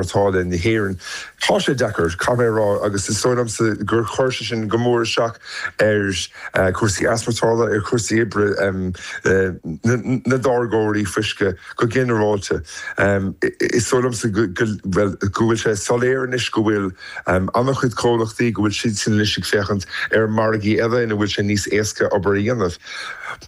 Mhartála na hÉireann. Tá sé deacair, caithfidh mé a rá, agus is dóigh liomsa gur chuir sé sin go mór isteach ar chúrsaí easmhartála, ar chúrsaí oibre na dtáirgeoirí fuisce go ginearálta. Is dóigh liomsa go, bhuel, go bhfuil sé soiléir anois go bhfuil an-chuid comhlachtaí, go bhfuil siadsan anois ag féachaint ar mhargaí eile ina bhfuil sé níos éasca obair a dhéanamh.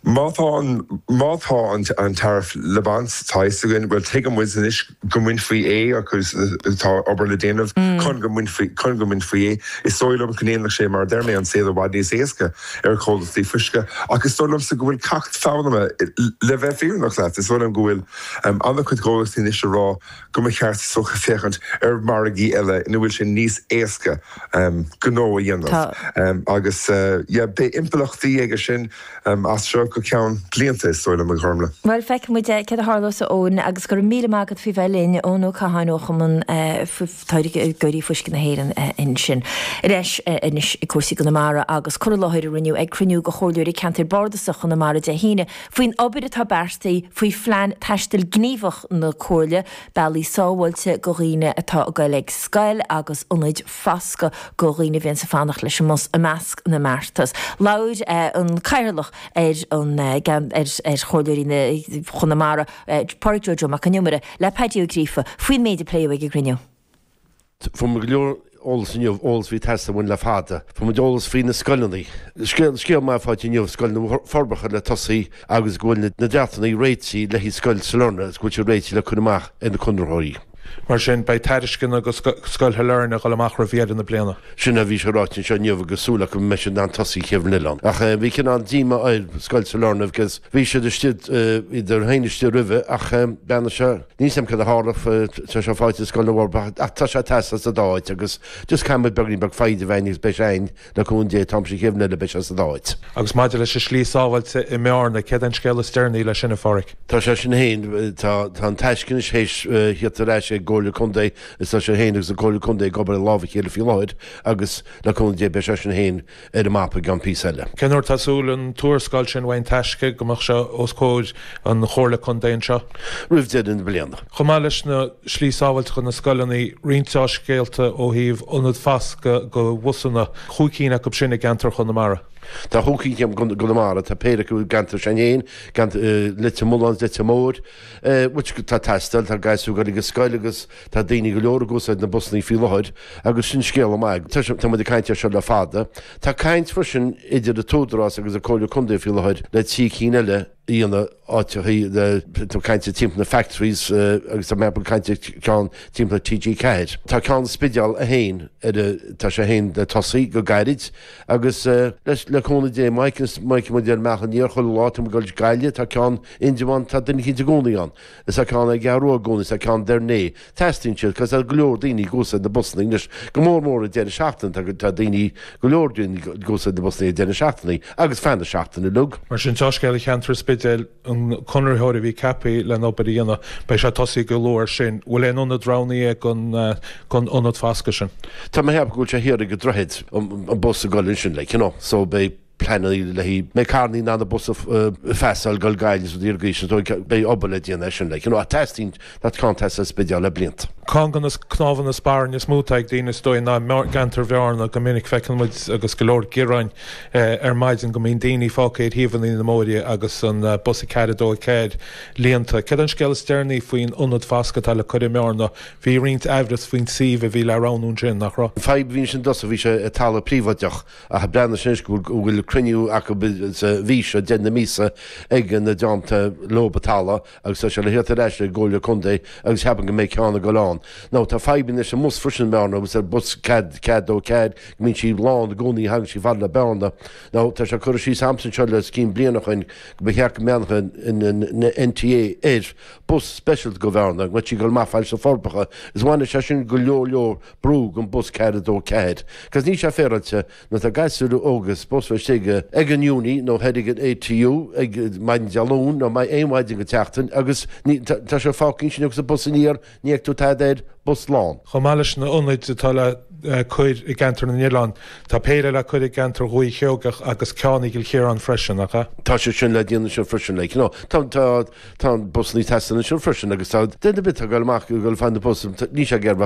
Má tá an, má tá an tariff le baint, tá a fhios againn, bhuel, tuigeann muid anois, go mbainfí é agus tá obair le déanamh chun go mbainfí chun go mbainfí é. Is dóigh liom go ndéanfadh sé, mar a deir mé, an saol i bhfad níos éasca ar chomhlachtaí fuisce ach is dóigh liomsa go bhfuil ceacht foghlamtha, le bheith fírinneach leat, is dóigh liom go bhfuil an-chuid comhlachtaí anois ag rá go mba cheart is dócha féachaint ar mhargaí eile ina bhfuil sé níos éasca gnó a dhéanamh agus yeah beidh impleachtaí aige sin. As seo go ceann blianta, is dóigh liom, a Ghormlaith. Bhuel, feicfidh muid céard a tharlós, a Eoin, agus go raibh míle maith agat faoi bheith linn. Eoin Ó Catháin ó Chumann Táirgeoirí Fuisce na hÉireann ansin. Ar ais anois ag cúrsaí Chonamara agus cur i láthair a rinneadh ag cruinniú de Chomhairleoirí Ceantair Bardasach Chonamara Dé hAoine faoin obair atá beartaithe faoi Phlean Taistil Gníomhach na Comhairle, bealaí sábháilte do dhaoine atá ag goil ag scoil agus ionaid foscaidh do dhaoine a bhíonns ag fanacht leis an mbus i measc na mbeartas. Labhair an Cathaoirleach ar an ar Chomhairleoirí Chonamara, Pádraig Joe Joe Mac Con Iomaire, le Paddy Ó Gríofa faoin méid a pléadh ag an gcruinniú. Fuair muid go leor eolas inniu, eolas a bhí ag teastáil uainn le fada. Fuair muid eolas faoi na scoileanna. Scéal, scéal maith faighte inniu, Scoil na Forbacha le tosaí agus go bhfuil na dreachtanna réitithe le haghaidh Scoil Sailearna agus go bhfuil siad réitithe le cur amach ar na conraitheoirí. Mar sin, beidh tairisceana do Scoil Shailearna ag dul amach roimh dheireadh na bliana. Sin a bhí sé ráite anseo inniu agus súil acu go mbeidh siad in ann tosaí an chéad bhliain eile ann. Ach bhí cineál díomá ar Scoil Sailearna agus bhí siad istigh, bhíodar féin istigh roimhe ach beannacht sé, níl 's agam cad a tharla, tá sé faighte ag Scoil na bhForbacha ach tá sé ag teastáil sa dá áit agus just caithfidh muid beagainín beag foighid a bheith againn agus beidh sé againn. Le cúnamh Dé, an t-am sin chéad bhliain eile beidh sé sa dá áit. Agus maidir leis an slí sábháilte i mBearna, céard é an scéal is deireanaí leis sin, a Pháraic? Tá sé sin féin, tá an taisce anois théis theacht ar ais ag an gComhairle Contae is tá sé féin agus an Comhairle Contae ag obair i lámh a chéile faoi láthair agus le cúnamh Dé beidh sé sin féin ar an mapa i gceann píosa eile. Cén uair atá súil an tuarascáil sin uaidh An Taisce go mbeadh sé os comhair an Chomhairle Contae anseo? Roimh deireadh na bliana. Chomh maith leis na slí sábháilte chun na scoileanna, roinnt dea-scéalta ó thaobh ionad foscaidh do bhusanna, chúig cinn acu sin i gceantar Chonamara. Tá chúig cinn i gConamara, tá péire acu i gceantar s'againn féin, Leitir Mealláin is Leitir Móir, which tá ag teastáil, tá gasúir ag dul ag an scoil agus tá daoine go leor ag úsáid na busanna faoi láthair agus sin scéala maith. Tá muid ag caint air seo le fada. Tá caint freisin idir an tÚdarás agus an Comhairle Contae faoi láthair le trí cinn eile a dhéanamh áiteachaí le tá caint timpeall na factories agus tá mé ag caint ceann timpeall TG4. Tá ceann Spidéal féin ar tá sé féin le tosaí go gairid agus le cúnamh Dé má fheiceann muid ar an mbealach aniar chuile lá tá muid ag dul Gaillimh tá ceann Indreabhán tá duine eicínt i gcónaí ann is tá ceann ag Gearú i gcónaí is tá ceann Doire Né. Teastaíonn siad cos tá go leor daoine ag úsáid na busanna anois go mór mór ag deireadh seachtaine tá tá daoine go leor daoine ag úsáid na busanna ag deireadh seachtaine agus feadh na seachtaine uilig. Mar sin, dea-scéal i cheantar an Spidéil, an conraitheoir a bhí ceaptha len obair a dhéanamh, beidh sé ag tosaí go luath air sin. Bhfuil aon ionad roghnaithe don don ionad foscaidh sin? Tá mé ag ceapadh go bhfuil sé thiar ag an droichead, an bus ag dul ansin like you know so beidh pleananna le haghaidh mbeidh carrannaí in ann an bus a phasáil ag dul Gaillimh is rudaí ar gcaoi sin so beidh obair le déanamh air sin like you know ach teastaíonn tá ceann ag teastáil sa Spidéal le blianta. Ceann de na cnámha na spairne is mó atá ag daoine is dóigh ná i gceantar Bhearna. Go minic feiceann muid agus go leor gearáin ar maidin go mbíonn daoine fágtha ar thaobhanna na mbóithre agus an bus 4 2 4 líonta. Céard é an scéal is deireanaí faoin ionad foscaidh atá le cur i mBearna? Bhí roinnt aimhreas faoin suíomh a bhí le roghnú ansin, nach raibh? An fadhb a bhí ansin i dtosach bhí sé i talamh príobháideach Ach breathnaigh anois go bhfuil cruinniú acu sa mhí seo, deireadh na míosa, ag na dream atá leob an talamh agus tá sé le theacht ar ais ag an gComhairle Contae agus ceapaim go mbeidh ceann ag dul ann. Now tá fadhbanna leis an mbus freisin i mBearna agus ar bus 4, 4 2 4 go mbíonn sí lán i gcónaí thagann sí fada le Bearna. Now tá sé curtha síos a'msa anseo le os cionn bliana ó shoin go mba cheart go mbreathnódh an NTA ar bus speisialta go Bhearna, go mbeadh sí ag dul amach fad leis na Forbacha is bhainfeadh sé sin go leor leor brú gon bus 4 2 4. Cos níl sé féaráilte nuair atá gasúir óga supposed bheith istigh ag an uni nó thoir ag an ATU ag maidin Dé Luain nó aon mhaidin den tseachtain agus ní tá sé fágtha ansin agus an bus aniar ní fheicfidh tú tada air, bus lán. Chomh maith leis na ionaid atá le. cur i gceantar na nOileán. Tá péire le cur i gceantar Dhúiche Sheoigeach agus ceann i gCill Chiaráin freisin, nach ea? Tá sé sin le déanamh ansin freisin, like, you know. Tá, tá, tá busanna ag teastáil ansin freisin agus tá, duine ar bith atá ag dul amach ag dul ag fáil na bus, níl sé ag iarraidh bheith.